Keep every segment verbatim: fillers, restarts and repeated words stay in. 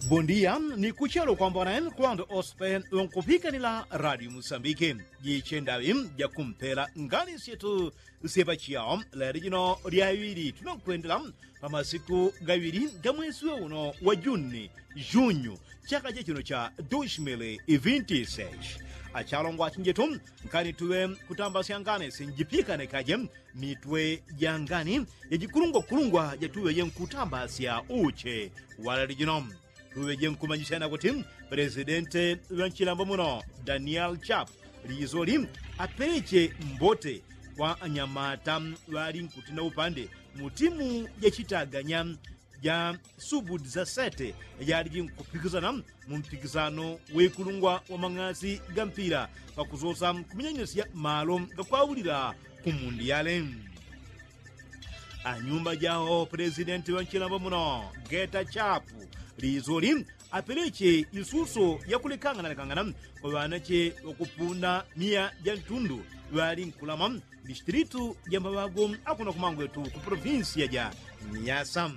Bondia ni kuchelo kwambone kwando ospe unkupikanila radio musambike. Jichendawi jakumpela ngani syetu syepachiao leli jino lyaŵili tunokwendela pa masiku gaŵili ga mwesi we uno wa juni junyu chaka chechino cha dushimili ivinti sesh. Achalongwa achinjetu, nkani tuŵe kutambasya ngani sinjipikane kaje mitwe ja ngani ya jikulungwakulungwa jatuŵeje nkutambasya uche walali jino. Tuŵeje nkumanyisya nakuti pelesidente ŵa nchilambo muno daniel chap lizoli apeleche mbote kwa anyamata ŵali nkutinda upande mu timu jachitaganya ja subudi za sete yaliji nkupikisana mu mpikisano wekulungwa wa mang'asi ga mpila pakusosa kuminyanisya malo gakwaulila ku mundiyale. Anyumba jawo pelesidenti wa nchilambo muno geta chapu lizoli apeleche isuso yakulekanganalekangana kwa ŵanache ŵakupunda miya ja ntundu ŵali nkulama distilitu ja maŵago akuno kumangwetu ku polofinsiya ja miyasa.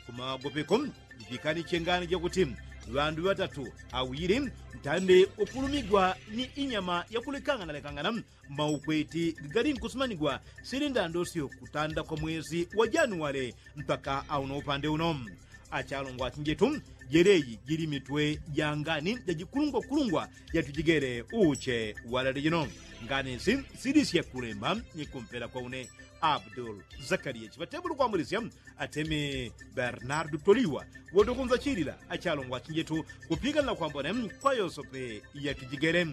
Kumaŵago peko jipikani chengani jakuti ŵandu ŵatatu awili ntande ukulumigwa ni inyama yakulekanganalekangana maukweti gagali nkusumanigwa sili ndandosyo kutanda kwa mwesi wa januwale mpaka auno upande uno. Achalongwa achinjetu jeleji jili mitwe ja ngani jajikulungwakulungwa jatujigele uche walali jino. Ngani si silisye kulemba ni kumpela kwa une abdul zakaliya chiŵatebulu kwambulisya atemi bernardu toliwa wotokunza chilila achalongwa achinjetu kupikanila kwambone kwa yosope yatujigele.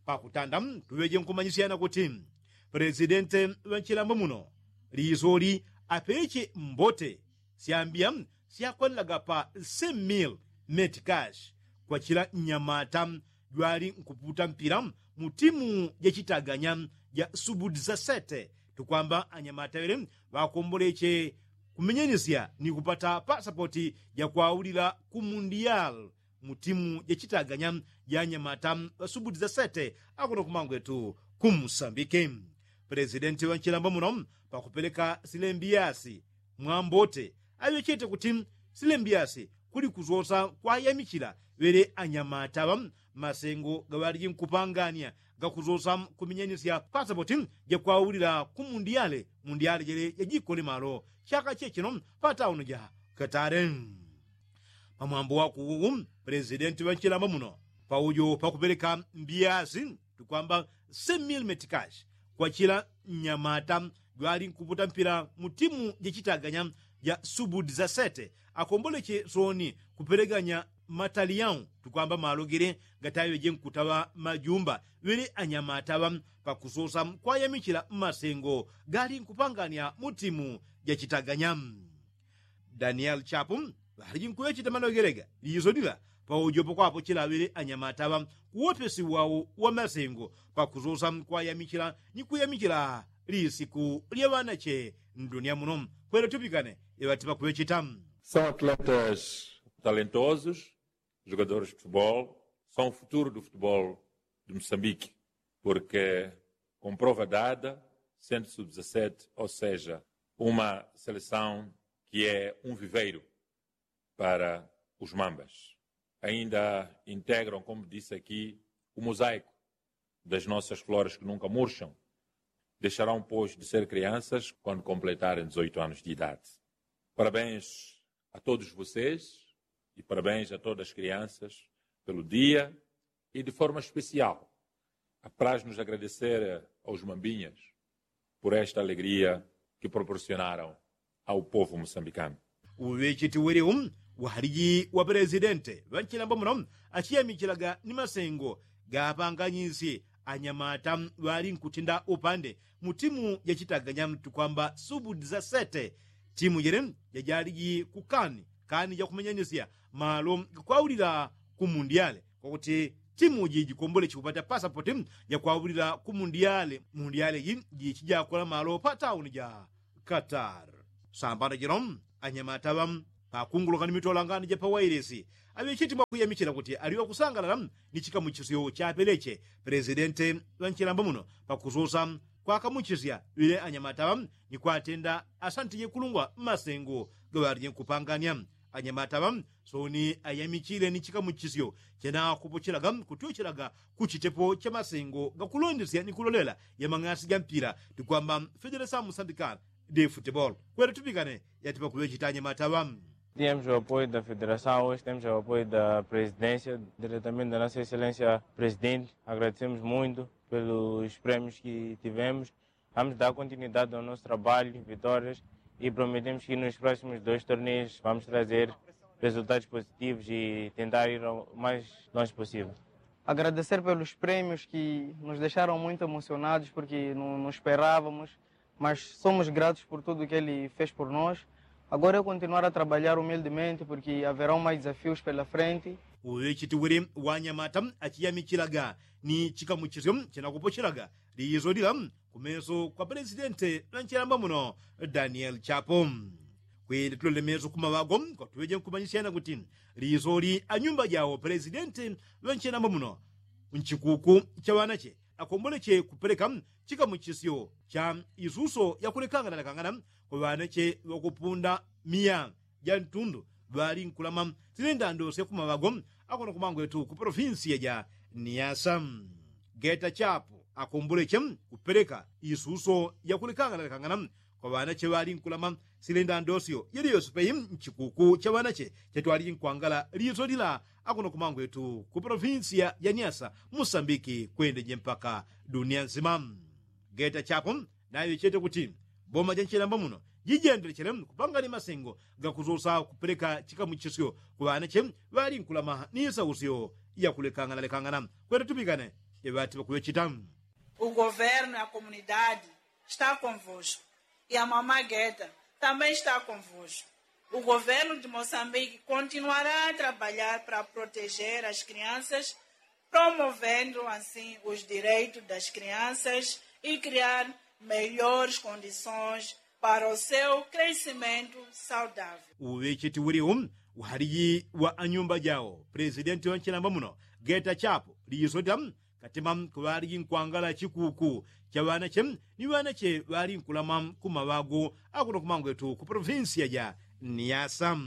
Pakutanda tuŵeje nkumanyisyana kuti pelesidente ŵa nchilambo muno lisoli apeche mbote syambya syakwanlaga pa semil metikash kwa chila nyamata jwali nkuputa mpila mu timu jachitaganya ja subudi za sete tukwamba anyamata ŵele ŵakomboleche kumenyanisya ni kupata pasapoti jakwaulila ku mundiyal mu timu jachitaganya ja anyamata ŵasubuti za sete akuno kumangwetu ku musambike. Pelesidenti wa nchilambo muno pakupeleka silembiyasi mwambote aŵechete kuti silembiyasi kuli kusosa kwayamichila ŵele anyamata ŵa masengo gaŵaliji nkupangania gakusosa kuminyanisya pasapoti jakwaulila ku mundiyale mundiyale jele jajikole malo chaka chechino pa tauni ja katale. Pamwambo wakuwu pelesidenti ŵa nchilambo muno paujo pakupeleka mbiyasi tukwamba semil metikashi kwa chila nyamata jwali nkuputa mpila mu timu jachitaganya ja subudi za sete akomboleche soni kupeleganya mataliyau tukwamba malo gele gataŵeje nkutaŵa majumba ŵele anyamata ŵa pakusosa kwayamichila mmasengo gali nkupangania mu timu jachitaganya. Danieli chapu ŵaliji nkuŵecheta malogelega lijiso lila paujopo kwapo chilaŵele anyamata ŵa kuwopesi wau wa masengo pakusosa kwayamichila ni kuyamichila lisiku lya ŵanache ndunia muno. Kwele tupikane iŵati pakuŵecheta. São atletas talentosos, jogadores de futebol, são o futuro do futebol de Moçambique, porque com prova dada, sendo sub dezassete, ou seja, uma seleção que é um viveiro para os mambas. Ainda integram, como disse aqui, o mosaico das nossas flores que nunca murcham. Deixarão, pois, de ser crianças quando completarem dezoito anos de idade. Parabéns a todos vocês e parabéns a todas as crianças pelo dia e, de forma especial, apraz-nos agradecer aos mambinhas por esta alegria que proporcionaram ao povo moçambicano. Uŵecheti welewu waliji wa pelesidente ŵa nchilambo muno achiyamichilaga ni masengo gapanganyisye anyamata ŵali nkutinda upande mu timu jachitaganya tukwamba subudi za sete. Timu jele jajaliji kukani kani jakumenyanisya malo gakwaulila ku mundiyale kwakuti timu ji jikomboleche kupata pasapoti jakwaulila ku mundiyale mundiyale ji jichijakola malo pa tauni ja katar. Sambano jino anyamata ŵa pakunguluka ni mitolangani ja pawailesi aŵecheti mwakuyamichila kuti ali ŵakusangalala ni chikamuchisyo chapeleche pelesidente ŵa nchilambo muno pakusosa kwakamuchisya ŵile anyamata ŵa ni kwatenda asantije kulungwa mmasengo gaŵalije nkupanganya. Anyamata ŵa soni ayamichile ni chikamuchisyo chena kupochelaga kutyochelaga ku chitepo cha masengo gakulondesya ni kulolela ya mang'asi ga mpila tukwamba federesa musambikana de futebolo. Kwele tupikane yatipa kuŵechita anyamata ŵa. Temos o apoio da federação hoje, temos o apoio da presidência, diretamente da nossa excelência presidente. Agradecemos muito pelos prémios que tivemos. Vamos dar continuidade ao nosso trabalho, vitórias, e prometemos que nos próximos dois torneios vamos trazer resultados positivos e tentar ir o mais longe possível. Agradecer pelos prémios que nos deixaram muito emocionados porque não, não esperávamos, mas somos gratos por tudo que ele fez por nós. Agora é continuar a trabalhar humildemente porque haverão mais desafios pela frente. Uŵechiti wili wanyamata achiyamichilaga ni chikamuchisyo chinakupochelaga liyizo lila kumeso kwa pelesidente ŵa nchelamba muno daniel chapo. Kwili tulole meso kumaŵago kwatuŵeje nkumanyisyana kuti liyizo li anyumba jawo pelesidente ŵa nchelamba muno nchikuku cha ŵanache akomboleche kupeleka chikamuchisyo cha isuso yakulekangana lekangana kwa ŵanache ŵakupunda miya ja ntundu ŵali nkulama sile ndando sya kumaŵago akuno kumangwetu ku polofinsiya ja niyasa. Geta chapo akomboleche kupeleka isuso yakulekangana lekangana kwa ŵanache ŵali nkulama sile ndando syo yeliyose peyi nchikuku cha ŵanache chatwali nkwangala liso lila akuno kumangwetu ku polofinsiya ja niyasa musambiki kwendeje mpaka duniya nsima. Geta chapo naŵechete kuti boma ja nchelemba muno jijendelechele kupangani masengo gakusosa kupeleka chikamuchisyo ku ŵanache ŵali nkulama ni isausyo yakulekangana lekangana. Kwete tupikane eŵati ŵakuŵechita. O governo e a comunidade está convosco e a mamá gueta também está convosco. O governo de moçambique continuará a trabalhar para proteger as crianças, promovendo assim os direitos das crianças e criar melhores condições para o seu crescimento saudável. Uŵecheti uliu uhaliji wa anyumba jawo pelesidenti wa nchelamba muno geta chapo liyiso lila katima kuŵaliji nkwangala chikuku cha ŵanache ni ŵanache ŵali nkulama kumaŵago akuno kumangwetu ku polofinsiya ja niyasa.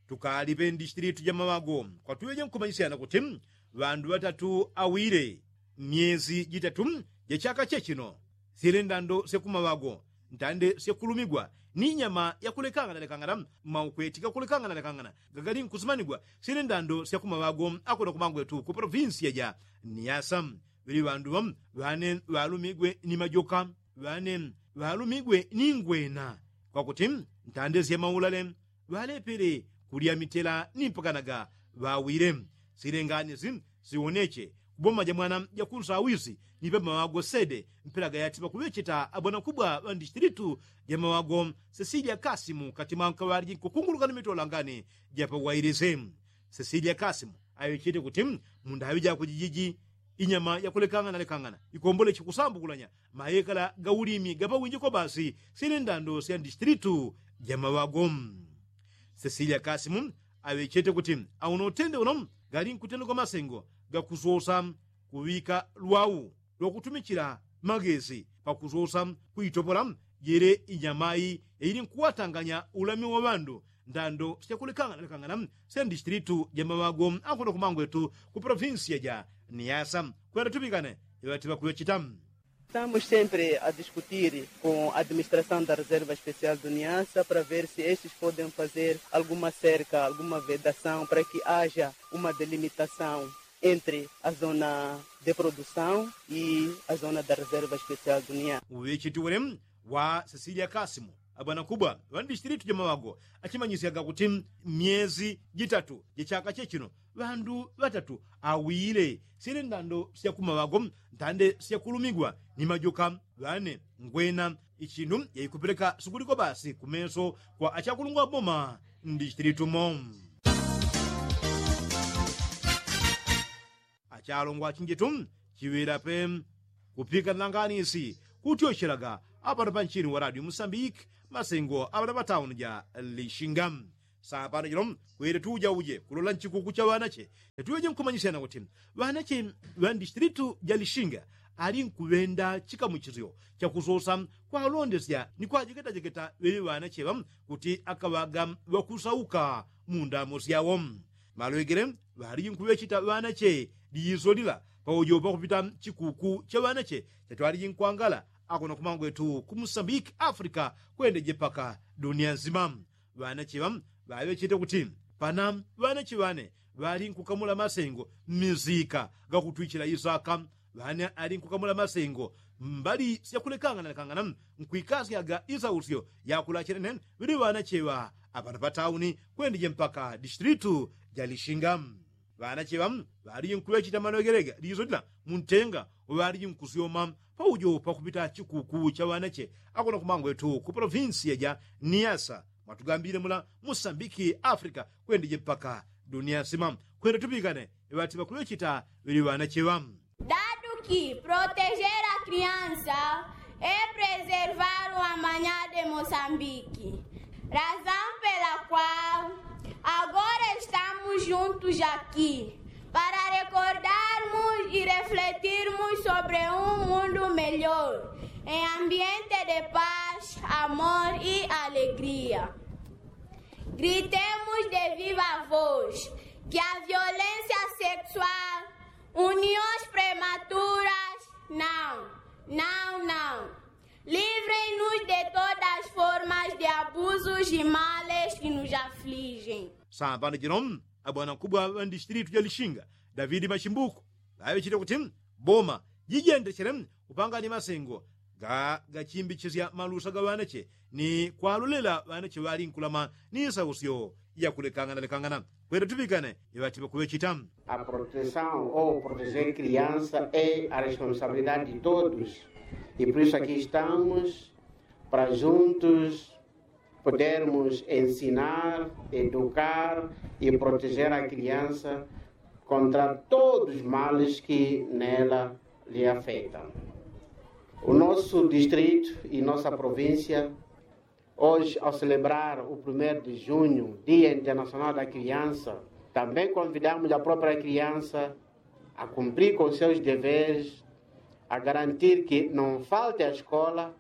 Tukalipe ndishitilitu ja maŵago kwatuŵeje nkumanyisyana kuti ŵandu ŵatatu awile myezi jitatu ja chaka chechino sile ndando sya kumaŵago ntande syakulumigwa ni nyama yakulekangana lekangana maukweti gakulekangana lekangana gagali nkusimanigwa sile ndando sya kumaŵago akuno kumangwetu ku polofinsiya ja niyasa. Ŵili ŵandu ŵa ŵane ŵalumigwe ni majoka ŵane ŵalumigwe ni ngwena kwakuti ntande sya maulale ŵalepele kulya mitela ni mpakanaga ŵawile. Sile nganisi siwoneche kuboma ja mwana ja kunsawisi ni pamaŵago sede mpela gayati ŵakuŵecheta abwanakubwa ŵa ndishitilitu ja maŵago sesilia kasimu katima nkaŵaliji nkukunguluka ni mitolangani ja pawailise. Sesilia kasimu aŵechete kuti mundaŵi jakwe jijiji inyama yakulekangana lekangana ikomboleche kusambukulanya mayekala ga ulimi gapawinji kobasi sile ndando sya ndishitilitu ja maŵago. Sesilia kasimu aŵechete kuti auno utende uno gali nkutendegwa masengo gakusosa kuŵika lwau lwakutumichila magesi pakusosa kuitopola jele inyamayi yaili nkuwatanganya ulami wa ŵandu ndando syakulekangana lekangana sya ndishitilitu ja maŵago akuno kumangwetu ku polofinsiya ja niyasa. Kwenda tupikane iŵati ŵakuŵechita. Estamos sempre a discutir com a administração da reserva especial do niassa para ver se estes podem fazer alguma cerca alguma vedação para que haja uma delimitação entre a zona de produção e a zona da reserva especial do niassa. Uŵecheti wele wa sesilia kasimu abwanakubwa ŵa ndishitilitu ja maŵago achimanyisyaga kuti myezi jitatu ja chaka chechino ŵandu ŵatatu awile sile ndando sya kumaŵago ntande syakulumigwa ni majoka ŵane ngwena ichindu yaikupeleka sukuliko basi kumeso kwa achakulungwa boma ndishitilitu mo. Achalongwa achinjitu chiŵila pe kupika nlanganisi kutyochelaga apano panchini wa radio musambiki masengo aŵana ŵatauni ja lishinga. Sapano jino kwele tuujauje kulola nchikuku cha ŵanache tetuŵeje nkumanyisyana kuti ŵanache ŵa ndishitilitu ja lishinga ali nkuŵenda chikamuchisyo chakusosa kwalondesya ni kwajeketajeketa ŵeŵe ŵanacheŵa kuti akaŵaga ŵakusauka mu ndamo syawo. Malwegele ŵaliji nkuŵechita ŵanache liyiso lila paujo pakupita chikuku cha ŵanache chachwaliji nkwangala akona kumangwetu ku musambiki afrika kwendeje paka dunia nsima. Ŵanache ŵa ŵaŵechete kuti pana ŵanache ŵane ŵali nkukamula masengo mmisika gakutwichila isaka. Ŵane ali nkukamula masengo mbali syakulekangana lekangana nkwikasyaga isausyo yakulachenene ŵili ŵanache ŵa apano pa tauni kwendeje mpaka distilitu ja lishinga. Ŵanache ŵa ŵaliji nkuŵechita manogelega liso lila muntenga uŵaliji nkusyoma paujo pakupita chikuku cha ŵanache akona kumangwetu ku polovinsiya ja niasa mwatugambile mula musambiki afrika kwendeje mpaka dunia nsima. Kwenda tupikane iŵati ŵakuŵechita ŵili ŵanache ŵa. Dadu ki protejer a kriansa e preservar o amanya de mosambiki. Razan pela kwal agora estamus juntus aki para rekordarmus i refletirmus sobre un mundu melhor en ambiente de pas, amor i alegria. Gritemos de viva vos ki a violensia seksual, unions prematuras nau, nau nau. Livrenus de todas formas de abusus i males ki nus aflijen. Sambano jino abwana nkubwa ŵa ndistilitu ja lishinga davidi machimbuku ŵaŵechite kuti boma jijendechele kupangani masengo ga gachimbichisya malusa ga ŵanache ni kwalolela ŵanache ŵali nkulama ni sausyo yakulekangana lekangana. Kwenda tupikane iŵati ŵakuŵechita. A protesaun o proteje kriansa e a responsabilidade de todos. I por isu aki estamus para juntos podermos ensinar, edukar i protejer a kriansa kontra todos os males ki nela li afetam. O nosso distrito i nossa provincia hoje ao celebrar o primeiro de junho dia internacional da criança, também convidamos a própria criança a cumprir com seus deveres, a garantir que não falte a escola,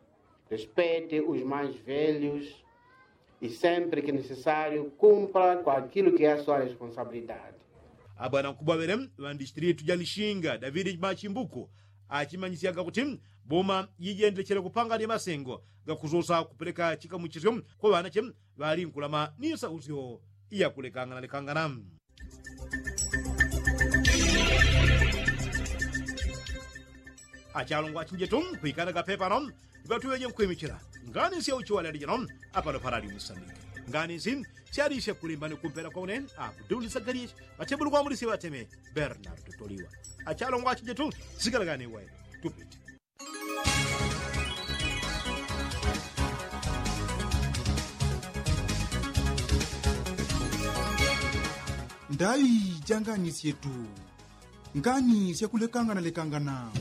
respeite os mais velhos e sempre que necessário cumpra com aquilo que é a sua responsabilidade. Abwana nkubwa ŵele ŵa ndistilitu ja lishinga davidi machimbuku achimanyisyaga kuti boma jijendechele kupangani masengo gakusosa kupeleka chikamuchisyo kwa ŵanache ŵali nkulama ni sausyo yakulekangana lekangana. Achalongwa achinjetu kwikana kapepa no ipatuŵeje nkwimichila ngani sya uchiwalele jino apano parali musambike. Ngani nsi syali syakulimba ni kumpela kwa une akudulisa galyeshi ŵatebulu kwa mulisi ŵateme bernardo toliwa. Achalongwa achinjetu sikalagani wene tupite. Ndai ja ngani syetu. Ngani syakulekangana lekangana.